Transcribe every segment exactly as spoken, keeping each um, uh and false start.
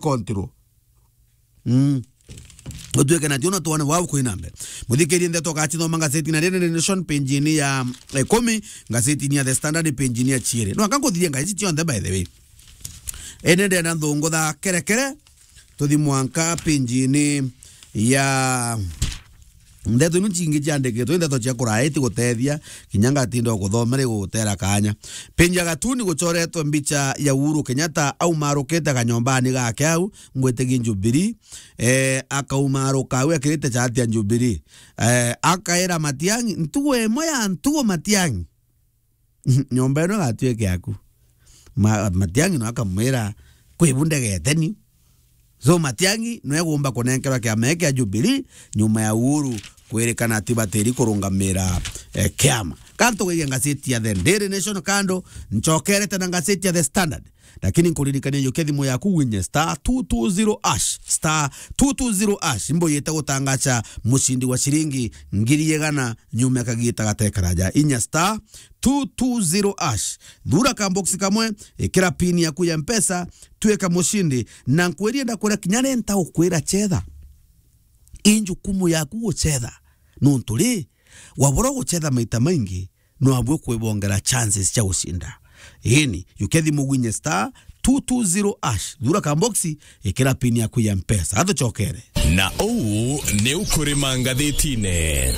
control. Mm. Utwike na tiona tuone wau kwina mbere. Muthikirie ndeto gachithoma ngazetini ya Daily Nation page-ini ya, eh, kumi, ngazetini ya The Standard page-ini ya chiiri. No aka nkuthirie ngazeti cionthe, by the way. Ene ndenda nthungutha kerekere, tuthi mwanka page-ini ya ndeto inu cingi ciandikitwe, ndeto cia kuraya iti gutethia, kinya ngatinda o kuthoma ri gutera kanya. Page ya gatuni gucoretwe mbicha ya Uhuru Kenyatta aumarukite kanyombani gake au, ngwitigie Jubilee, eh, akaumaruka au ekirite chati ya Jubilee. Eh, akaira Matiang'i, ntugo imwe ya ntugo Matiang'i. Nyomba ino igatuike yaku. Ma-, Matiang'i no akamwira, "Kwi bu ndegete ni." So Matiang'i no egumba kunenkerwa kiama giki kia Jubilee nyuma ya Uhuru kwirikana ati batiri kurungamira, eh, kiama. Ka ntugeige ngazeti ya The Daily Nation kando, nchokerete na ngazeti ya The Standard. Lakini nkuririkania yukia thimu yaku winye star two two zero hash, star two two zero hash, imbo yete gutangacha mucindi wa ciringi ngiri igana nyuma ya kagita gatekaraja. Inya star two two zero hash. Thura ka box kamwe, ikira pin yaku ya Mpesa, tuika mucindi. Na nkwirie ndakwira kinya renta ukwira chetha. I njukumu yaku guchetha. Nontu ri, wabura guchetha maita maingi, no abwe kwibongera chances cia gucinda. Ini, yukia thimu winye star two two zero hash. Thura ka box, ikira pin yaku ya Mpesa. Athuchokere. Na uu ni ukurima ngathitine.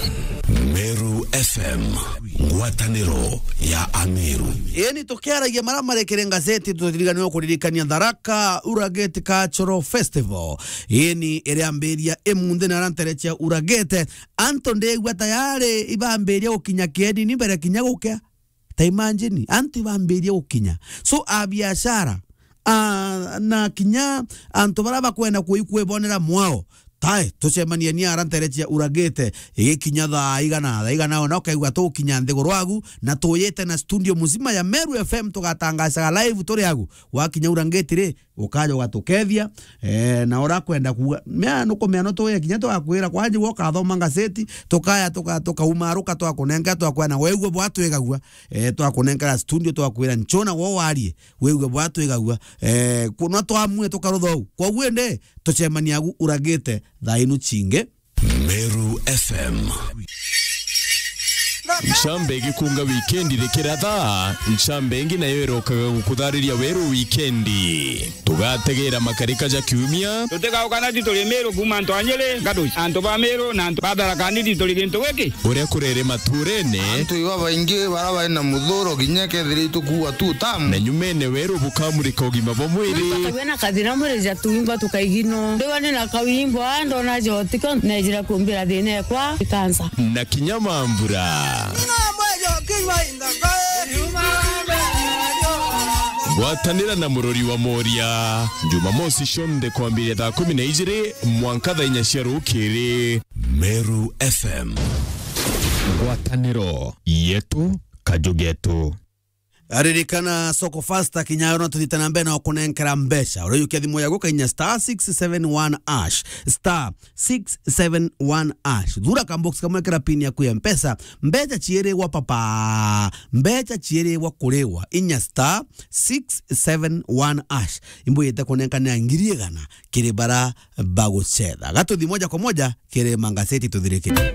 Meru F M, ngwataniro ya Ameru. Ini tukiaragia mara marekere ngazeti, tutiriganirwo kuririkania Tharaka Uragate Cultural Festival. Ini iriambiria imunthi na arantere cia Uragate. Antu ndigua tayari ibambiria gukinya kieni ni mbere kinya gukia. Ta imagine, antu ibambiria gukinya. So, a biashara, a, na kinya antu bara bakwenda kui-, kwibonera mwao. Tae, tucemanie ni ara ntere cia Uragate, igikinya thaa igana, thaa igana ona ukaigua tugukinya nthiguru agu, na tuyite na studio muzima ya Meru F M tugatangacaga live turi agu. Wakinya Uragate ri, ukaja ugatukethia, eh, na urakwenda kuuga, mea nukumea no tuye kinya tugakwira, kwanja gwe ukathoma ngazeti, tukaya tuka-, tukaumaruka twakunenka twakwena, weigua bwa twigagua, eh, twakunenkera studio twakwira nchona gwe warie, weigua bwa twigagua, eh, kuna twamue tukarutha u. Kwa guo ende, tucemania agu Uragate thaa inu cingi. Meru F M. Ncambe igikunga wikendi rikiratha, ncambe ingi nayo irokaga gukuthariria weru wikendi. Tugategera makarika ja kiumia. Tutigauka na ti turi Meru kuuma antu a Nyeri, Gaduci, antu ba Meru na antu ba Tharaka Nithi turi gintu giki. Uria kurere maturene. Antu iba baingi bara bari na muthuro kinya kethira itukuua tu tamu. Na nyumene weru bukamurika ugima bwa mwiri. Bakagua na kathina mwiri ja tuimba tukaigino. Ndiwa ni na kawimbo, a, ndona jotiko, nejira kumbira thina ekwa, ikansa. Na kinya mambura. Gwatanira na murori wa Moria, Jumamosi cionthe kwambiria thaa kumi na ijiri mwanka thaa inya cia rukiri. Meru F M. Ngwataniro yetu, kaju getu. Aririkana Soko Fasta kinya yo no tuthite na mbere na kunenkera mbeca. Ureyukia thimu yaku kainya star six seven one hash. Star six seven one hash. Thura ka box kamwe kira pin yaku ya Mpesa. Mbeca ciirigwa papa. Mbeca ciirigwa kurigwa. Inya star six seven one hash. Imbo yete kunenkanira ngiri igana kiri bara bagucetha. Gatuthi moja kwa moja kiri mangaseti tuthirikire.